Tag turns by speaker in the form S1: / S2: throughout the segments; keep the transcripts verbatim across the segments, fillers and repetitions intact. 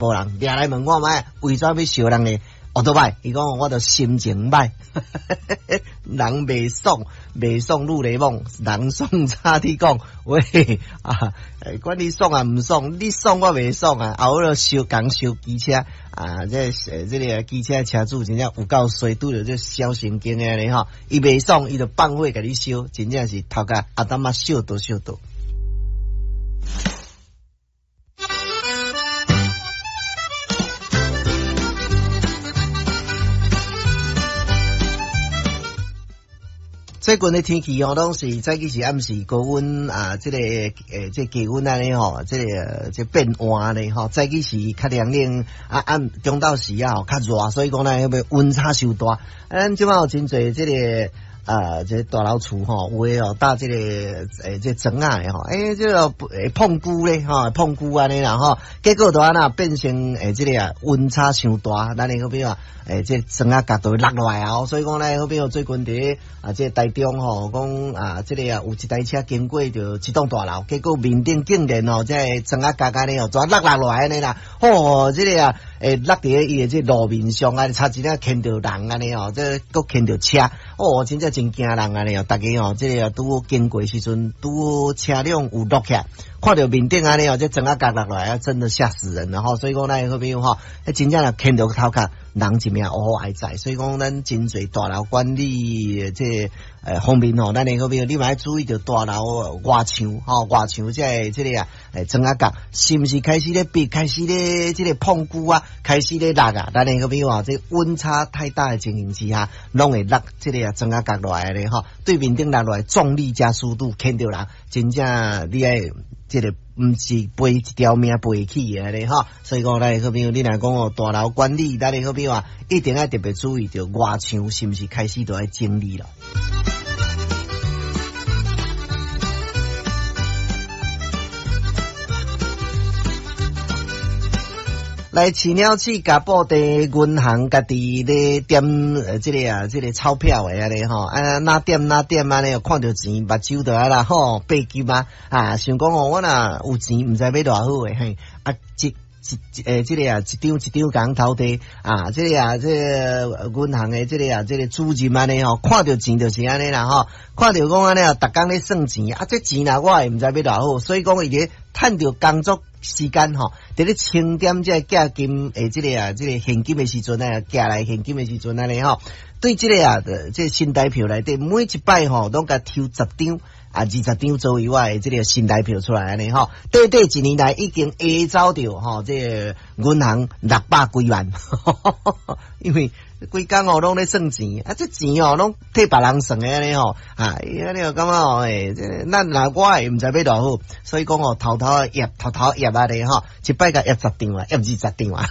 S1: 埔人掠來問我覓，為怎欲燒人的奧多擺？伊講我著心情䆀，人袂爽，袂爽愈來摸，人爽早佇講，喂啊，管你爽啊毋爽，你爽我袂爽啊！後尾燒共燒機車啊，這這个機車車主真正有夠衰，拄著這小神經的按呢吼，伊袂爽，伊就放火共你燒，真正是頭殼阿當仔燒倒燒倒。最近的天氣吼，攏是早起是暗時高溫啊，這個誒，這個低溫按呢吼，這個這變換按呢吼，早起時較涼冷啊，暗中晝時啊吼較熱，所以講呢，彼個溫差傷大。咱這擺有真濟這個啊，這個大樓厝吼，有的哦搭這個誒，這磚仔的吼，欸，這個會碰龜咧吼，碰龜按呢啦吼，結果就按怎變成誒，這個啊溫差傷大，咱的好比啊，誒，這磚仔角都會落落來啊，所以講咧，好比最近佇啊，這個台中吼，講啊，這個啊有一台車經過著一棟大樓，結果面頂竟然吼，這個磚仔角按呢吼，全落落來按呢啦，吼，這個啊，會落佇伊的這路面上啊，差一點牽著人按呢吼，這閣牽著車，哦，真正真驚人按呢哦，逐家吼，這個拄好經過時陣，拄好車輛有落起來，看著面頂按呢哦，這磚仔角落來啊，真的嚇死人了吼，所以講咱好朋友吼，真正若牽著頭殼，人一命烏呼哀哉，所以講咱真濟大樓管理這個方面吼，咱的好朋友你嘛愛注意著大樓外牆吼，外牆這個這個啊，磚仔角是毋是開始咧變，開始咧這個碰龜啊，開始咧落啊，咱的好朋友啊，這溫差太大的情形之下，攏會落這個啊磚仔角落來咧吼，對面頂落落來重力加速度牽著人，真正你愛這個毋是賠一條命賠起的咧吼，所以講咱的好朋友，你若講哦大樓管理，咱的好朋友啊，一定愛特別注意著外牆是毋是開始都愛整理了。來飼鳥市甲布袋銀行家己咧點這個啊，這個鈔票的按呢吼，啊哪點哪點按呢，看著錢目睭就按呢吼，白金啊，啊想講哦，我若有錢毋知欲偌好的嘿，啊一一欸這個啊，一張一張共偷提啊，這個啊，這個銀行的這個啊，這個主任按呢吼，看著錢就是按呢啦吼，看著講按呢啊，逐工咧算錢啊，這錢若我會毋知欲偌好，所以講伊咧趁著工作時間吼，佇咧清點這個寄金的這個啊，這個現金的時陣啊，寄來現金的時陣按呢吼，對這個啊，這個新台票內底每一擺吼，攏共抽十張啊，二十張左右的這個新台票出來按呢吼，短短一年內已經下走著吼，這個銀行六百幾萬，因為規工哦攏咧算錢，啊這錢哦攏替別人算的按呢吼，啊伊按呢感覺哦，欸，這咱若我會毋知欲偌好，所以講哦偷偷挹，偷偷挹按呢吼，一擺共挹十張啊，挹二十張啊。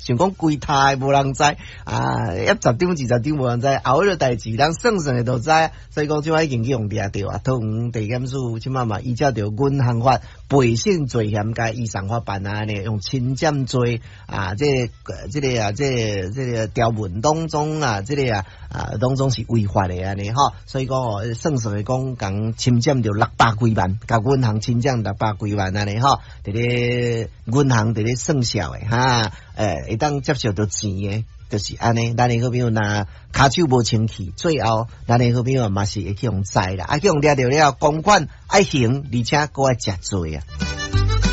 S1: 想講規刣無人知啊，挹十張二十張無人知，後彼個代誌人算算的就知，所以講這擺已經去予掠著啊。桃園地檢署這擺嘛依照著銀行法背信罪嫌共移送法辦啊，呢用侵佔罪啊，這個這個啊，這個這個條文當中啊，這個啊啊當中是違法的按呢吼，所以講哦，算算的講，共侵佔著六百幾萬，共銀行侵佔六百幾萬按呢吼，佇咧銀行佇咧算數的哈，欸，會當接受著錢的，就是按呢。咱的好朋友若跤手無清氣，最後咱的好朋友嘛是會去予宰啦，啊去予掠著了，公款愛還，而且閣愛食罪啊。